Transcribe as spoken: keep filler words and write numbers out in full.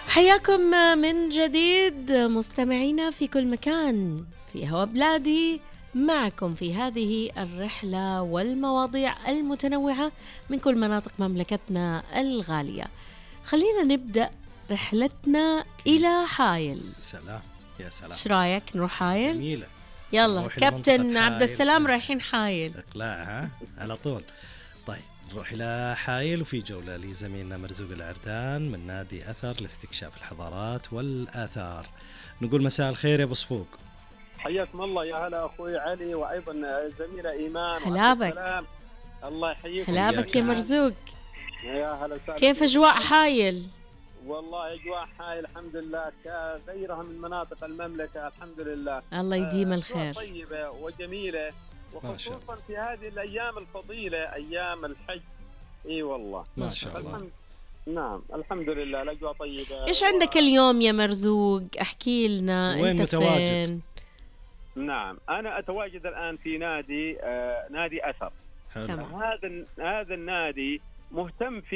حياكم من جديد مستمعينا في كل مكان في هوا بلادي، معكم في هذه الرحلة والمواضيع المتنوعة من كل مناطق مملكتنا الغالية. خلينا نبدأ رحلتنا إلى حايل. سلام يا سلام، ايش رايك نروح حايل؟ جميلة. يلا كابتن عبد السلام رايحين حايل. اقلاع ها على طول. طيب نروح إلى حايل وفي جولة لزميلنا مرزوق العردان من نادي أثر لاستكشاف الحضارات والآثار. نقول مساء الخير يا أبو صفوق. حياكم الله يا هلا أخوي علي وأيضا زميلة إيمان. هلابك. الله يحييكم. هلابك يا مرزوق. يا هلا. كيف أجواء حايل؟ والله أجواء حايل الحمد لله كغيرها من مناطق المملكة الحمد لله. الله يديم الخير. طيبة وجميلة وخصوصا في هذه الأيام الفضيلة أيام الحج. إي والله ما شاء الله. الحمد... نعم الحمد لله الأجواء طيبة. إيش و... عندك اليوم يا مرزوق؟ أحكي لنا. وين أنت متواجد؟ فين؟ نعم أنا أتواجد الآن في نادي آه نادي أثر. حلو. هذا هذا النادي مهتم في